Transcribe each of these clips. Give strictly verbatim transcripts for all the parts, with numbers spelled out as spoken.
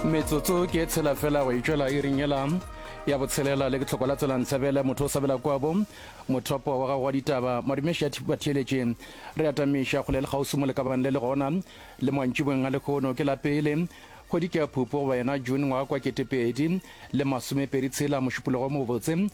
Metsotso ke e tshela fela go itšwela iring yela ya botshelela le ke tlhoko la tsela ntshabele motho o sabela kwabo mothopo wa gago wa ditaba madumeši a batheeletše re atamiša kgole le kgauswi mo le ka bang le le gona le mantšiboeng a lekgono ke la pele kgwedi ke ya phupo goba yena june ngwaga kwa ketepedi le masomepedi tshela mošupologo mo botse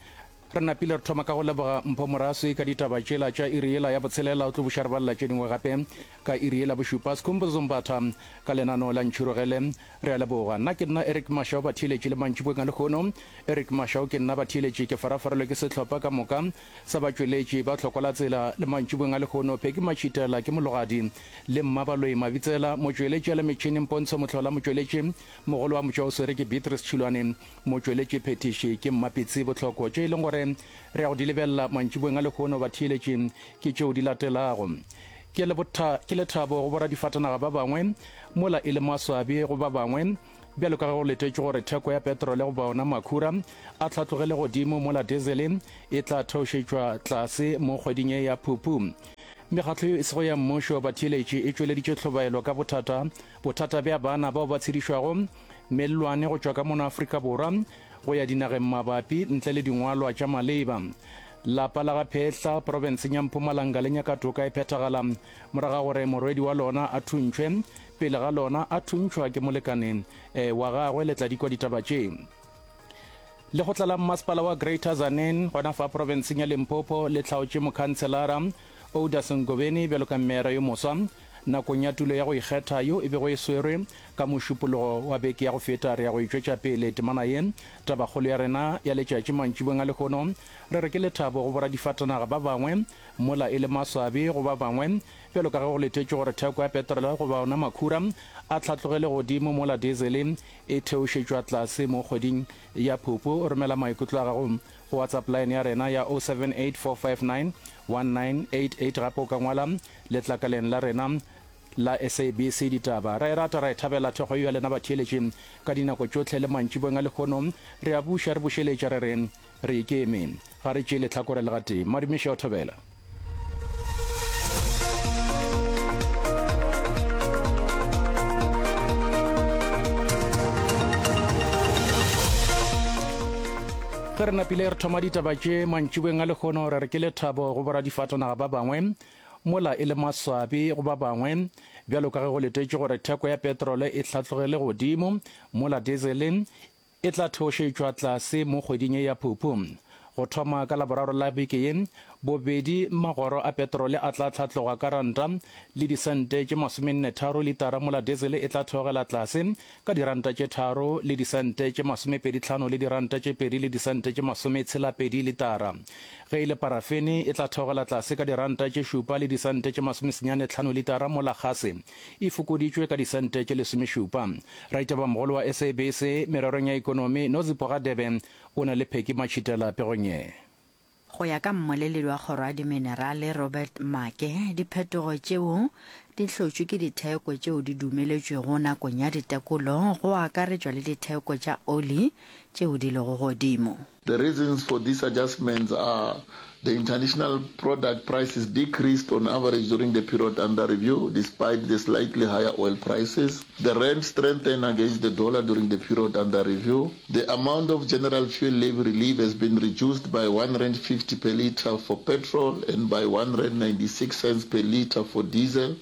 Re napile re thoma ka go leboga Mpho Moraswi ka ditaba tšela tša iri yela ya botshelela, o tlo buša re balela tše dingwe gape ka iri yela bošupa. Skhumbuzo Mbatha ka lenaneo la Ntšhirogele. Re a leboga. Nna ke nna Eric Mashau batheeletši le mantšiboeng a lehono. Eric Mashau ke nna batheeletši ke farafarelwe ke sehlopha ka moka sa batšweletši ba Tlhoko la Tsela le mantšiboeng a lehono. Peggy Matšhitela ke mologadi le Mmabaloi Mabitsela motšweletši a le metšhineng Pontsho Mohlola motšweletši mogolo wa motšwaoswere ke Beatrice Tšhilwane Motšweletši phethiši ke Mmapitsi Bohloko. Tše e leng gore re ya go di lebelela mantšiboeng a lehono batheeletši ke tšeo di latelago. Ke le botha, ke lethabo go boradifatanaga ba bangwe mola e le maswabi go ba bangwe bjalo ka ge go letetšwe gore theko ya petrole goba ona makhura a hlatlogele godimo mola dizele e tla theošetšwa tlase mo kgweding ye ya Phupu. Mekgatlo yeo e sego ya mmušo batheeletši e tšweleditše tlhobaelo ka bothata bothata bja bana bao ba tshedišwago mellwane go tšwa ka mono Afrika Borwa go ya dinageng mabapi ntle le dingwalwa tša maleba. Lapa la ga Phehla profenseng ya Mpumalanga le nyaka toka e phethagala morago ga gore morwedi wa lona a thuntšhwe pele ga lona a thuntšhwa ke molekane wa gagwe. Le tla di kwa ditaba tše. Lekgotla la Mmasepala wa Greater Tzaneen gona fa profenseng ya Limpopo le hlaotše mokhanselara Oudas Ngobeni bjalo ka mmeara yo moswa nakong ya tulo ya go ikgetha yo e bego e swerwe ka Mošupologo wa beke ya go feta. Re ya go e tšwetša pele temana ye tabakgolo ya rena ya letšatši mantšiboeng a lehono. Re re ke lethabo go boradifatanaga ba bangwe mola e le maswabi go ba bangwe bjalo ka ge go letetšwe gore theko ya petrole goba ona makhura a hlatlogele godimo mola dizele e theošetšwa tlase mo kgweding ya Phupu. Romela maikutlo a gago go WhatsApp line ya rena ya oh seven eight four five nine one nine eight eight gape o ka ngwala letlakaleng la rena la S A B C Ditaba. Ra e rata, ra e thabela thekgo yeo ya lena batheeletši ka dinako tšohle le mantšiboeng a lehono. Re a buša re bušeletša re re re ikeme, ga re tšee lehlakore le gatee. Madumiša o thobela. Ge re napile re thoma ditaba tše mantšiboeng a lehono, re re ke lethabo go boradifatanaga ba bangwe mola e le maswabi go ba bangwe bjalo ka ge go letetšwe gore theko ya petrole e hlatlogele godimo mola dizele e tla theošetšwa tlase mo kgweding ye ya Phupu. Go thoma ka Laboraro la beke ye, bobedi magoro a petrole a tla hlatloga ka ranta le disente tše masomenne-tharo litara mola dizele e tla theogela tlase ka diranta tše tharo le disente tše masomepedi-hlano le diranta tše pedi le disente tše masometshela-pedi litara. Ge e le parafene e tla theogela tlase ka diranta tše šupa le disente tše masomesenyane-hlano litara mola gase e fokoditšwe ka disente tše lesomešupa. Raitabamogolo wa S A B C mererong ya ekonomi, Nozipho Radebe, o na le Peggy Matšhitela pegong ye. Go ya ka mmoleledi wa Kgoro ya Diminerale Robert Maake, diphetogo tšeo di hlotšwe ke ditheko tšeo di dumeletšwego nakong ya ditekolo, go akaretšwa le ditheko tša oli tšeo di lego godimo. The reasons for these adjustments are the international product prices decreased on average during the period under review despite the slightly higher oil prices. The rand strengthened against the dollar during the period under review. The amount of general fuel levy relief has been reduced by one rand fifty per litre for petrol and by one rand ninety-six cents per litre for diesel,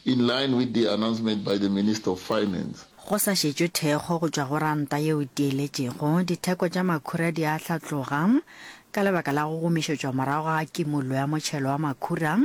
in line with the announcement by the Minister of Finance. Go sa šetšwe thekgo go tšwa go ranta yeo e tieletšego, ditheko tša makhura di a hlatloga ka lebaka la go gomišetšwa morago ga kimollo ya motšhelo wa makhura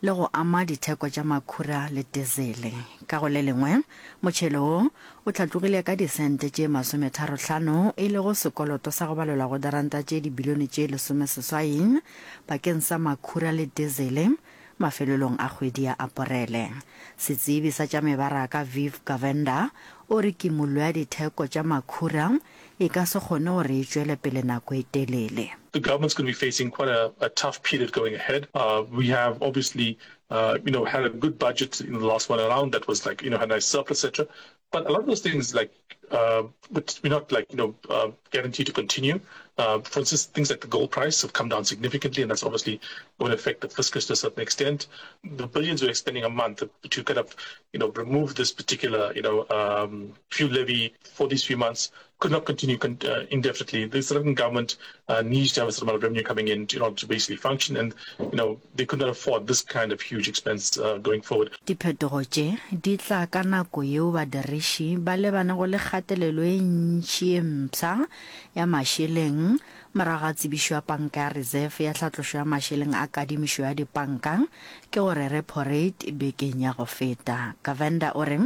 le go ama ditheko tša makhura le tizele. Ka go le lengwe, motšhelo wo o hlatlogile ka disente tše masometharo-hlano, e lego sekoloto sa go balelwa go diranta tše dibilione tše lesomeseswai bakeng sa makhura le dizele mafelelong a kgwedi ya Aporele. Setsebi sa tša mebaraka Viv Govender o re kimollo ya ditheko tša makhura e ka se kgone gore e tšwele pele nako e telele. The government's gonna be facing quite a, a tough period going ahead. Uh, we have obviously, uh, you know, had a good budget in the last one around that was like, you know, had a nice surplus, et cetera. But a lot of those things like uh, but we're not like, you know, uh, guaranteed to continue. Uh, for instance, things like the gold price have come down significantly, and that's obviously going to affect the fiscus to a certain extent. The billions we're spending a month to kind of, you know, remove this particular, you know, um, fuel levy for these few months could not continue con- uh, indefinitely. The South African government uh, needs to have a certain amount of revenue coming in to, in order to basically function, and you know they could not afford this kind of huge expense uh, going forward. Diphetogo tše di tla ka nako yeo badiriši ba lebanego le kgatelelo e ntši ye mpsha ya mašeleng morago ga tsebišo ya Panka ya Reserve ya tlhatlošo ya mašeleng a kadimišo ya dipanka, ke gore repo rate, bekeng ya go feta. Govender o re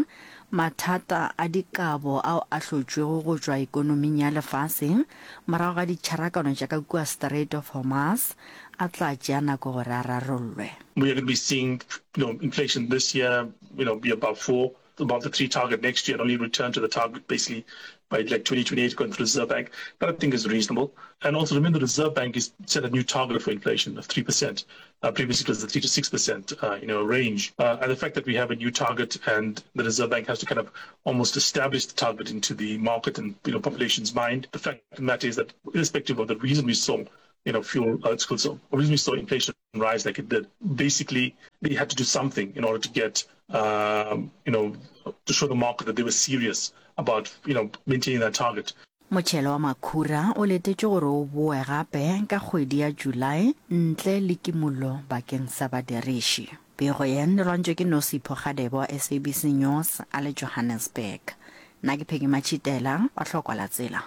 mathata a dikabo ao a hlotšwego go tšwa ekonoming ya lefase morago ga ditšharakano tša ka kua Strait of Hormuz a tla tšea nako gore a rarollwe. We are going to be seeing, you know, inflation this year, you know, be above four, above the three target next year, and only return to the target basically by like twenty twenty-eight according to the Reserve Bank. That I think is reasonable. And also remember, the Reserve Bank has set a new target for inflation of three percent. Uh, previously it was the three to six percent, uh, you know, range. Uh, and the fact that we have a new target and the Reserve Bank has to kind of almost establish the target into the market and, you know, population's mind. The fact of the matter is that irrespective of the reason we saw, you know, fuel, uh, it's called, so, the reason we saw inflation rise like it did, basically they had to do something in order to get, um, you know, to show the market that they were serious about, you know, maintaining that target. Motšhelo wa makhura o letetšwe gore o boe gape ka kgwedi ya Julae ntle le kimollo bakeng sa badiriši. Pego ye e lwantšwe ke Nosipho Kgadebe wa S A B C News a le Johannesburg. Nna ke Peggy Matšhitela wa Tlhokwa la Tsela.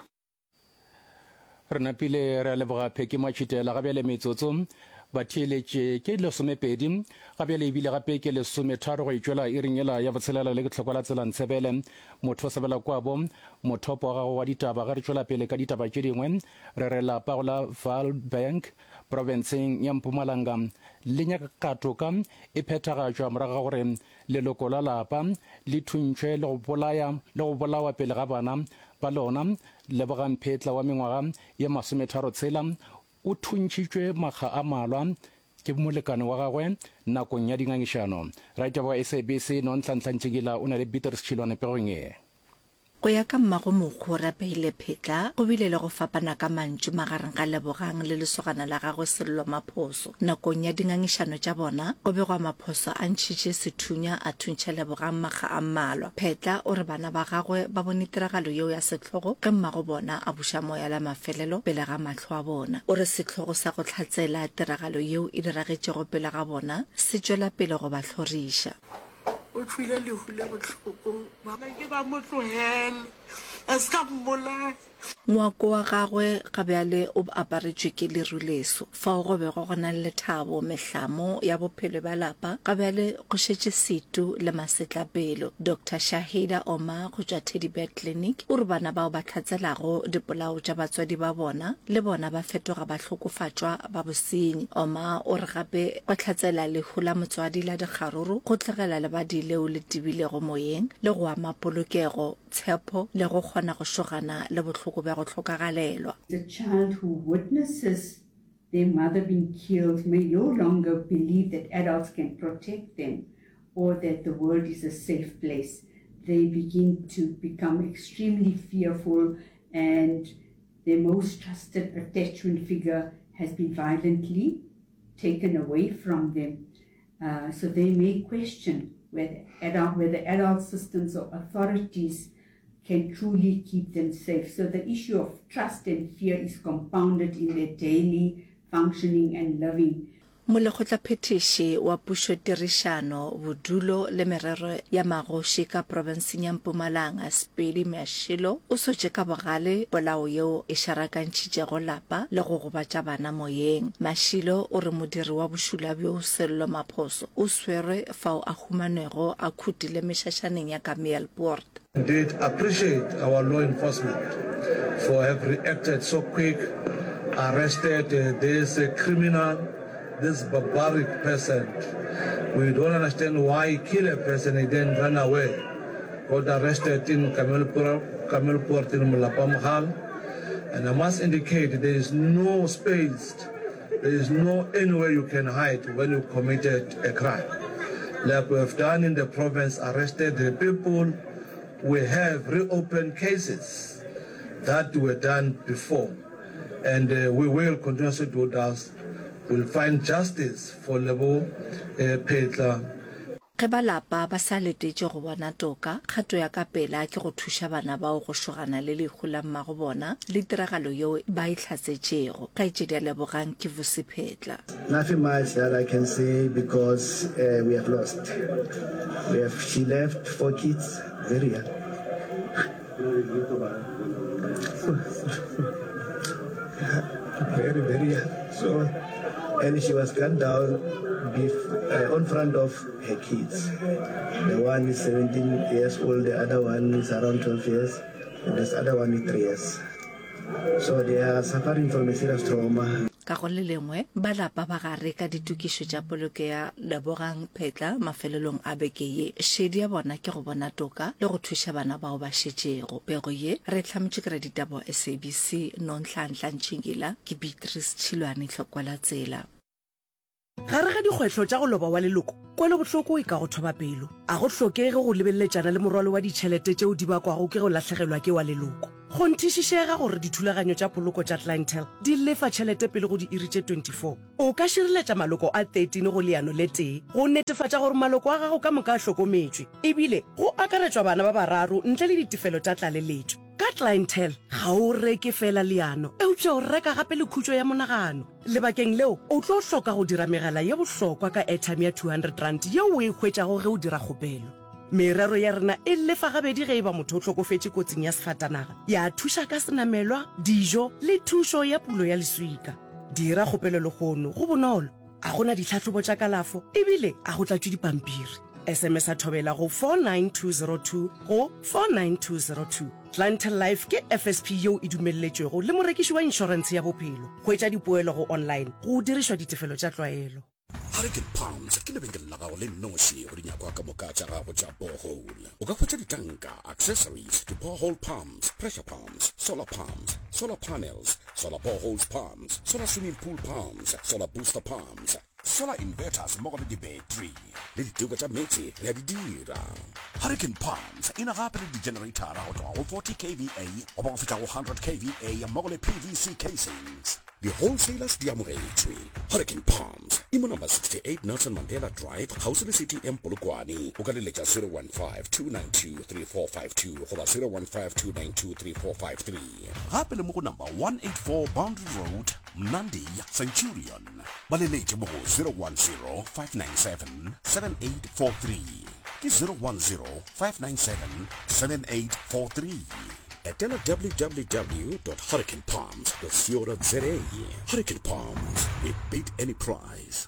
Re napile re a leboga Peggy Matšhitela. Ga bjale metsotso batheeletše ke lesomepedi, ga bjale ebile gape ke lesometharo go itšwela iring ela ya botshelela le ke tlhokwa la tsela Ntshebele. Motho o sebela kwabo mothopo wa gago wa ditaba. Ge re tšwela pele ka ditaba tše dingwe, re re lapa go la Vaalbank profenseng ya Mpumalanga le nyaka toka e phethagatšwa morago ga gore leloko la lapa le thuntšhwe le go bolaya le go bolawa pele ga bana ba lona. Lebogang Phetla wa mengwaga ye masometharo tshela o thuntšhitšwe makga a malwa ke molekane wa gagwe nakong ya dingangišano. Raitaba wa S A B C Nonhlanhla Ntšhikila o na le Beatrice Tšhilwane pegong ye. Go ya ka mmago mokgo Rapeile Phetla, go bile le go fapana ka mantšu magareng ga Lebogang le lesogana la gagwe Sello Maphoso. Nakong ya dingangišano tša bona, go begwa Maphoso a ntšhitše sethunya a thuntšha Lebogang makga a mmalwa. Phetla o re bana ba gagwe ba bone tiragalo yeo ya sehlogo ge mmago bona a buša moya la mafelelo pele ga mahlo a bona. O re sehlogo sa go hlatsela tiragalo yeo e diragetšego pele ga bona se tšwela pele go ba hloriša. O tšwile lehu le bohloko, ba ke ba mo tlogele, a se ka mmolaya. Ngwako wa gagwe ga bjale o aparetšwe ke leru leso. Fao go bego go na le lethabo, mehlamo ya bophelo bja lapa, ga bjale go šetše setu le masetlapelo. Doctor Shahida Omar go tšwa Teddy Bear Clinic o re bana bao ba hlatselago dipolao tša batswadi ba bona le bona ba fetoga bahlokofatšwa ba bosenyi. Omar o re gape go hlatsela lehu la motswadi la dikgaruru go tlogela lebadi leo le tebilego moyeng le go ama polokego, tshepo le go kgona go šogana le bohloko bja go hlokagalelwa. The child who witnesses their mother being killed may no longer believe that adults can protect them or that the world is a safe place. They begin to become extremely fearful, and their most trusted attachment figure has been violently taken away from them. Uh, so they may question whether adult, whether adult systems or authorities can truly keep them safe. So the issue of trust and fear is compounded in their daily functioning and living. Molekgotlaphethiši wa pušotirišano, bodulo le merero ya magoši ka profenseng ya Mpumalanga, Sepedi Mashilo, o sotše ka bogale polao yeo e šarakantšhitšego lapa le go gobatša bana moyeng. Mashilo o re modiri wa bošula bjo Sello Maphoso o swerwe fao a humanwego a khutile mešašaneng ya Kameelpoort. Indeed, appreciate our law enforcement for have reacted so quick, arrested, uh, this, uh, criminal, this barbaric person. We don't understand why he killed a person and then ran away. Got arrested in Kameelpoort, Kameelpoort in Molapamahal. And I must indicate there is no space, there is no anywhere you can hide when you committed a crime. Like we have done in the province, arrested the people We have reopened cases that were done before and uh, we will continuously do that. We'll find justice for Lebo uh, Phetla. Ge ba lapa ba sa letetše go bona toka, kgato ya ka pela ke go thuša bana bao go šogana le lehu la mmago bona le tiragalo yeo ba e hlatsetšego. Kgaetšedi ya Lebogang ke Vusi Phetla. Nothing much that I can say because uh, we have lost. We have, she left four kids, very young. Very, very young. So, and she was gunned down bef- uh, on front of her kids. The one is seventeen years old, the other one is around twelve years, and this other one is three years. So they are suffering from a serious trauma. Ka go le lengwe, ba lapa ba gare ka ditokišo tša poloko ya Lebogang Phetla mafelelong a beke ye. Šedi ya bona ke go bona toka le go thuša bana bao ba šetšego. Pego ye re e hlametšwe ke raditaba wa S A B C Nonhlanhla Ntšingila, ke Beatrice Tšhilwane Tlhokwa la Tsela. Gare ga dikgwetlho tša go loba wa leloko, kwelobohloko e ka go thoba pelo. A go hlokege go lebeleletšana le morwalo wa ditšhelete tšeo di bakwago ke go lahlegelwa ke wa leloko. Kgonthišišega gore dithulaganyo tša poloko tša Clientele di lefa tšhelete pele go diiri tše twenty-four. O ka šireletša maloko a thirteen go leano le tee go netefatša gore maloko a gago ka moka a hlokometšwe, ebile go akaretšwa bana ba bararo ntle le ditefelo tša tlaleletšo. Ka Clientele, ga o reke fela leano, eupša o reka gape le khutšo ya monagano. Lebakeng leo, o tlo hloka go dira megala ye bohlokwa ka airtime ya two hundred rand yeo o e hwetšago ge o dira kgopelo. Merero ya rena e lefa gabedi ge e ba motho o hlokofetše kotsing ya sefatanaga, ya thuša ka senamelwa, dijo le thušo ya pulo ya leswika. Dira kgopelo lehono, go bonolo, a go na ditlhahlobo tša kalafo ebile a go tlatšwe dipampiri. S M S a thobela go four nine two zero two go four nine two zero two. Clientele Life ke F S P yeo e dumelletšwego le morekiši wa inšorentshe ya bophelo. Hwetša dipoelo go online go dirišwa ditefelo tša tlwaelo. Hurricane Palms ke lebenkele la gago le nnoši go dinyakwa ka moka tša gago tša borehole. O ka hwetša ditanka, accessories, di-borehole pumps, pressure pumps, solar pumps, solar panels, solar boreholes pumps, solar swimming pool pumps, solar booster pumps, solar inverters mmogo le di-battery le diteko tša meetse re a di dira. Hurricane Palms e na gape le di-generator go tloga go forty K V A goba go fihla go hundred K V A mmogo le P V C casings. Di-wholesalers di amogetšwe. Hurricane Palms e mo number sixty-eight Nelson Mandela Drive kgauswi le C T M Polokwane. O ka leletša zero one five two nine two three four five two goba zero one five two nine two three four five three. Gape le mo go number one eight four Boundary Road, Mnandi, Centurion. Ba leletše mo go zero one zero five nine seven seven eight four three. Ke zero one zero five nine seven seven eight four three. Etela w w w dot hurricane palms dot co dot za. Hurricane Palms, we beat any price.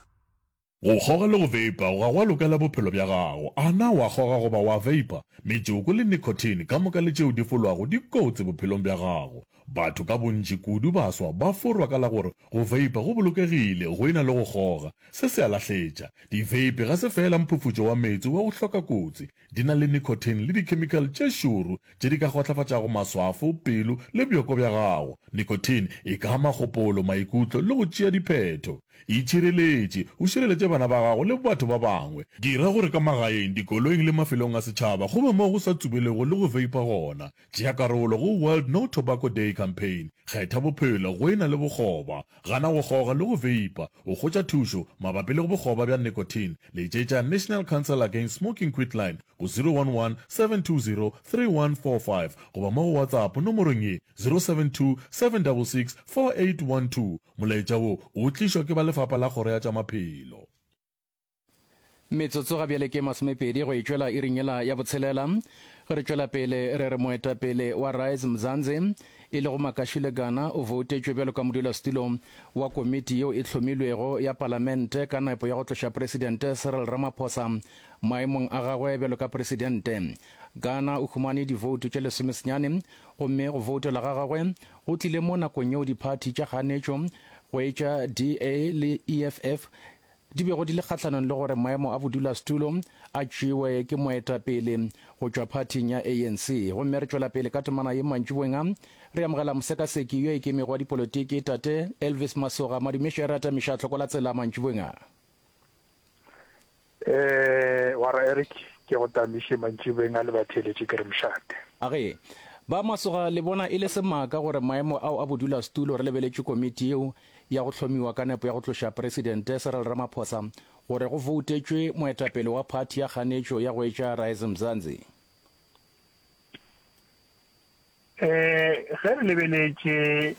Go kgoga le go veipa ga go a lokela bophelo bja gago. A na wa kgoga goba wa veipa? Metšoko le nicotine ka moka le tšeo di folwago di kotsi bophelong bja gago. Batho ka bontši kudu baswa ba forwa ka la gore go veipa go bolokegile go e na le go kgoga. Se se a lahletša. Di-vape ga se fela mphufutšo wa meetse wa go hloka kotsi. Di na le nicotine le dikhemikhale tše šoro tše di ka kgotlafatšago maswafo, pelo le bjoko bja gago. Nicotine e ka ama kgopolo, maikutlo le go tšea diphetho. Itšhireletše, o šireletše bana ba gago le batho ba bangwe. Dira gore ka magaeng, dikoloing le mafelong a setšhaba go be mo go sa tsubelego le go veipa gona. Tšea karolo go World No Tobacco Day campaign. Kgetha bophelo go e na le bokgoba. Gana go kgoga le go veipa. O hwetša thušo mabapi le bokgoba bja nicotine. Letšetša National Council Against Smoking Quitline go zero one one seven two zero three one four five goba mo go WhatsApp nomorong ye zero seven two seven six six four eight one two. Molaetša wo o tlišwa ke ba lefapha la Kgoro ya tša Maphelo. Metsotso ga bjale ke masomepedi go e tšwela iring yela ya botshelela. Ge re tšwela pele re re moetapele wa Rise Mzansi e lego Makashule Gana o voutetšwe bjalo ka modulasetulo wa komiti yeo e hlomilwego ya palamente ka nepo ya go tloša presidente Cyril Ramaphosa maemong a gagwe bjalo ka presidente. Gana o humane divoutu tše lesomesenyane gomme go voutela ga gagwe go tlile mo nakong yeo diphathi tša kganetšo go etša D A le E F F di bego di le kgahlanong le gore maemo a bodulasetulo a tšewe ke moetapele go tšwa phathing ya A N C. Gomme re tšwela pele ka temana ye mantšiboeng a re amogela mosekaseki yo ikemego wa dipolotiki tate Elvis Masoga. Madumišo re atamiša tlhoko la tsela mantšiboeng a. Eh, wara Eric, Ke go tamiše mantšiboeng a le batheeletši ke re mošate. A ge ba Masoga le bona e le semaka gore maemo ao a bodulasetulo re lebeletše komiti yeo ya go hlomiwa ka nepo ya go tloša Presidente Cyril Ramaphosa gore go voutetšwe moetapele wa phathi ya kganetšo ya go etša Rise Mzansi. Ee, ge re lebeletše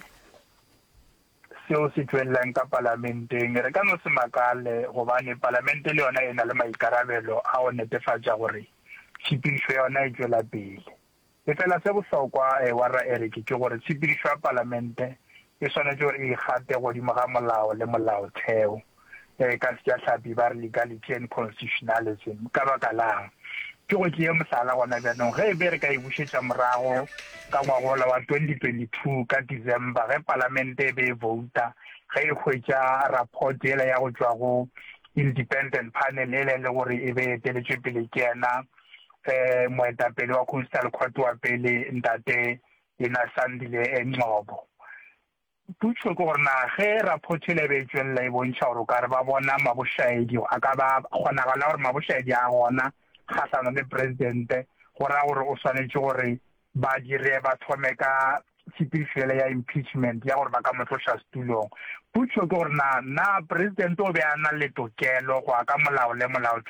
seo se tšwelelang ka Palamenteng, re ka no se makale gobane Palamente le yona e na le maikarabelo a go netefatša gore tshepedišo ya yona e tšwela pele. Efela se bohlokwa, warra Eric, ke gore tshepedišo ya Palamente e swanetše gore e ikgate godimo ga molao le molaotheo. Ka Sejahlapi ba re legality and constitutionalism. Ka baka la'ng? Ke go tšee mohlala gona bjanong, ge e be re ka e bušetša morago ka ngwagola wa twenty twenty two ka December ge Palamente e be e vouta ge e hwetša rapport yela ya go tšwa go Independent Panel yela e le gore e be e eteletšwe pele ke yena moetapele wa Coastal Court wa pele Ntate Yena Sandile Ngcobo. Potšo ke gore na ge raphoto yela e be e tšwelela e bontšha gore o ka re ba bona mabošaedi, a ka ba kgonagalo ya gore mabošaedi a gona kgahlanong le presidente, go ra gore o swanetše gore ba dire, ba thome ka tshepedišo yela ya impeachment ya gore ba ka mo tloša setulong. Potšo ke gore na na presidente o be a na le tokelo go ya ka molao le molaotheo